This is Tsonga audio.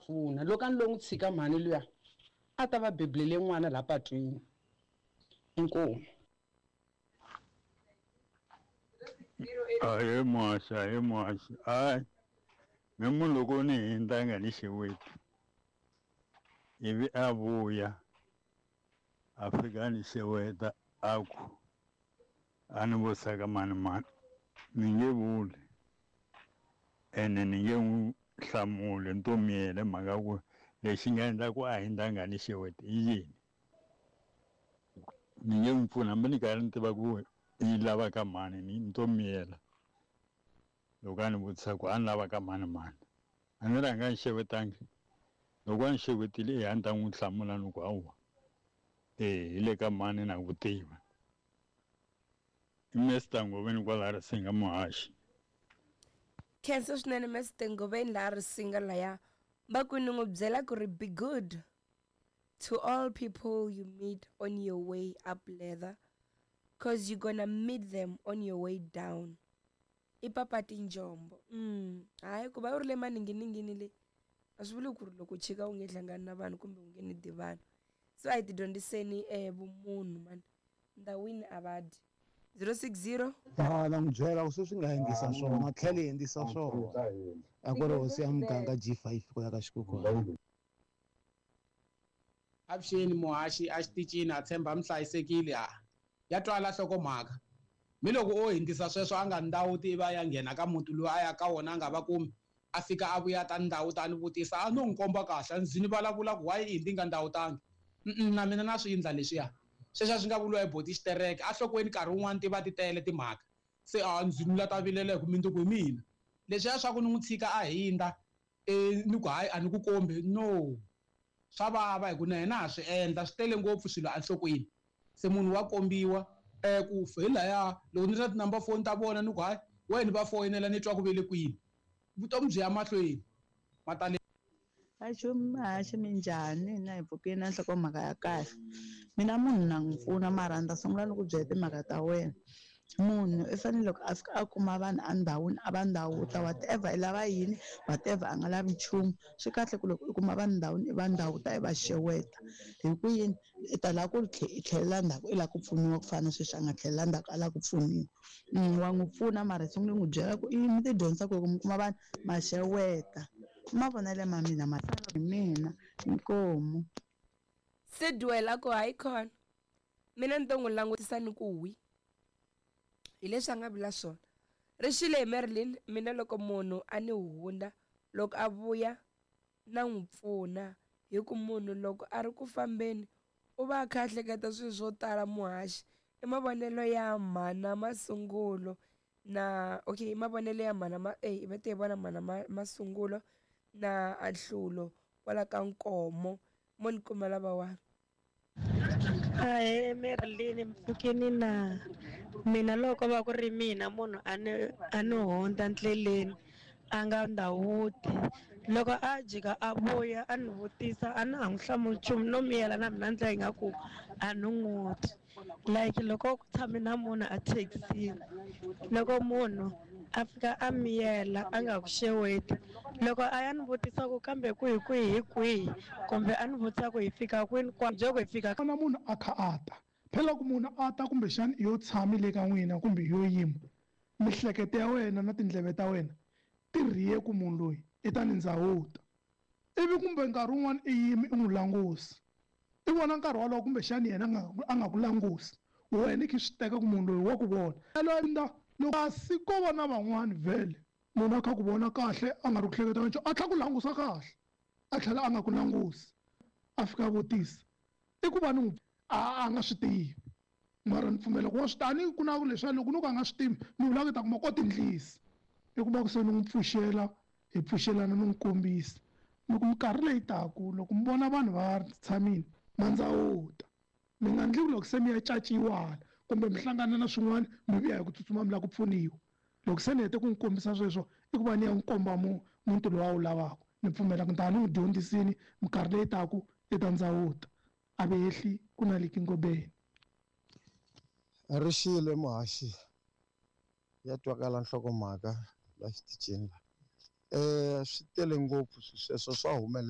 pfuna. Loko a ni lo n'wi tshika mhani luya a ta va bebulele n'wana laha patwini. Inkomu. Ahee muhaxi, ahee muhaxi. Hayi me munhu loko ni hundza a nga ni xeweti ivi a vuya a fika a ni xeweta a ku a ni vutisa ka mani mani ni nge vuli ene ni nge n'wi hlamuli ni to miyela hi mhaka ya ku lexi nga endla ku a hundza a nga ni xeweti i yini. Ni nge n'wi pfuni hambi ni karhi ni tiva ku yi lava ka mani ni to miyela loko a ni vutisa ku a ni lava ka mani mani a ni ri a nga ni xewetangi loko a ni xewetile eya a ni ta n'wi hlamula ni ku hawa e hi le ka mani na ku tiva i Mr Ngoveni kwala Risinga muhaxi. Khensa swinene Mr Ngoveni laha Risinga laya va ku ni n'wi byela ku ri be good to all people you meet on your way up leather cause you gonna meet them on your way down i papa tinjombo hayi ku va u ri le maninginingini le a swi vuli ku ri loko u chika u nge hlangani na vanhu kumbe u nge ni di vanhu so a hi ti dyondziseni vumunhu mani ndhawini a va dyi 060. Ha na n'wi byela ku sweswi nga endlisa swona tlhela hi endlisa swona a ku ri hosi ya muganga G5 ku ya ka xikhukhwana. Avuxeni muhaxi a xitichini a tshemba mi hlayisekile a ya twala nhlokomhaka mi loko o hindzisa sweswo a nga ndawuti ivi a ya nghena ka muti lowu a ya ka wona a nga va kumi a fika a vuya ta ndawuta a ni vutisa a no n'wi komba kahle a ndzi ni vulavula ku why i hindi nga ndawutangi na mina na swi endla leswiya sweswi a swi nga vuriwa hi boti xitereke a nhlokweni nkarhi wun'wani ti va ti tele timhaka se a ndzi ni la ta vilela hi ku mundzuku hi mina leswiya swa ku ni n'wi tshika a hindza ni ku hayi a ni ku kombi no swa vava hi ku na yena ha swi endla swi tele ngopfu swilo enhlokweni se munhu wa kombiwa ku hi laya loko ni ri na ti-number phone ta vona ni ku hayi wena va foyinela ni twa ku ve le kwini vutomi byi ya mahlweni matale. Haxi minjhani na hi pfukile na nhlokomhaka ya kahle mina munhu na n'wi pfuna mara ni ta sungula ni ku byela timhaka ta wena munhu i fanele loko a fika a kuma vanhu endhawini a va ndhawuta whatever i lava yini whatever a nga lavi nchumu swi kahle ku loko u kuma vanhu ndhawini i va ndhawuta i va xeweta hi ku yini i ta lava ku i tlhelela ndzhaku i lava ku pfuniwa ku fana na sweswi a nga tlhelela ndzhaku a lava ku pfuniwa wa n'wi pfuna mara i sungule n'wi byela ku i mi ti dyondzisa ku loko mi kuma vanhu ma xeweta i mavonelo ma mina ma hi mina inkomu. Sidwell a ku hayi khona mina ni to n'wi langutisa ni ku wi hi leswi a nga vula swona ri xile hi Marilyn mina loko munhu a ni hundza loko a vuya na n'wi pfuna hi ku munhu loko a ri ku fambeni u va a kha a hleketa swilo swo tala muhaxi i mavonelo ya mhana masungulo na okay i mavonelo ya mhana ma eh va te vona mhana masungulo na anhlulo kwala ka nkomo mo ni kuma lavawani. Ahee Marilyn mpfhukini na mina loko va ku ri mina munhu a ni a ni hundza ndleleni a nga ndhawuti loko a jika a vuya a ni vutisa a na ha n'wi hlamuli nchumu no miyela na mina ndlela ingaku a ni n'wi twi like loko ku tshame na munhu a thekisini loko munhu a fika a miyela a nga ku xeweti loko a ya ni vutisa ku kambe kwihi kwihi hi kwihi kumbe a ni vutisa ku hi fika kwini kwa bye ku hi fika na munhu a kha a ta phela loko munhu a ta kumbexana i yo tshami le ka n'wina kumbe yo yima mihleketo ya wena na tindleve ta wena ti rhiye ku munhu loyi i ta ni ndzawuta ivi kumbe nkarhi wun'wana i yimi i n'wi langusa i vona nkarhi wolowo kumbexana yena a nga ku langusi wena i kha i swi teka ku munhu loyi wa ku vona loko kasi ko va na van'wani vhele munhu a kha ku vona kahle a nga ri ku hleketa nchumu a tlhela ku langusa kahle a tlhela a nga ku langusi a fika a vutisa i ku va ni n'wi a nga swi tivi mara ni pfumela ku wa swi tani ku na leswiya loko no ka a nga swi tivi ni vula ku ta kuma ko tindlisi i kuma ku se ni n'wi pfuxela hi pfuxelana ni n'wi kombisa loko minkarhi leyi taku loko mi vona vanhu va tshamile ma ndzawuta mi nga ndli ku loko se mi ya caciwa hala kumbe mi hlangana na swin'wana mi vuya hi ku tsutsuma mi lava ku pfuniwa loko se ni hete ku n'wi kombisa sweswo i ku va ni ya n'wi komba muti lowu a wu lavaka ni pfumela ku ni ta ni n'wi dyondzisini minkarhi leyi taku i ta ndzawuta a ve hehli ku na liki ngobeni. Ri xile muhaxi ya twakala nhlokomhaka la xitichini la swi tele ngopfu sweswo swa humelela.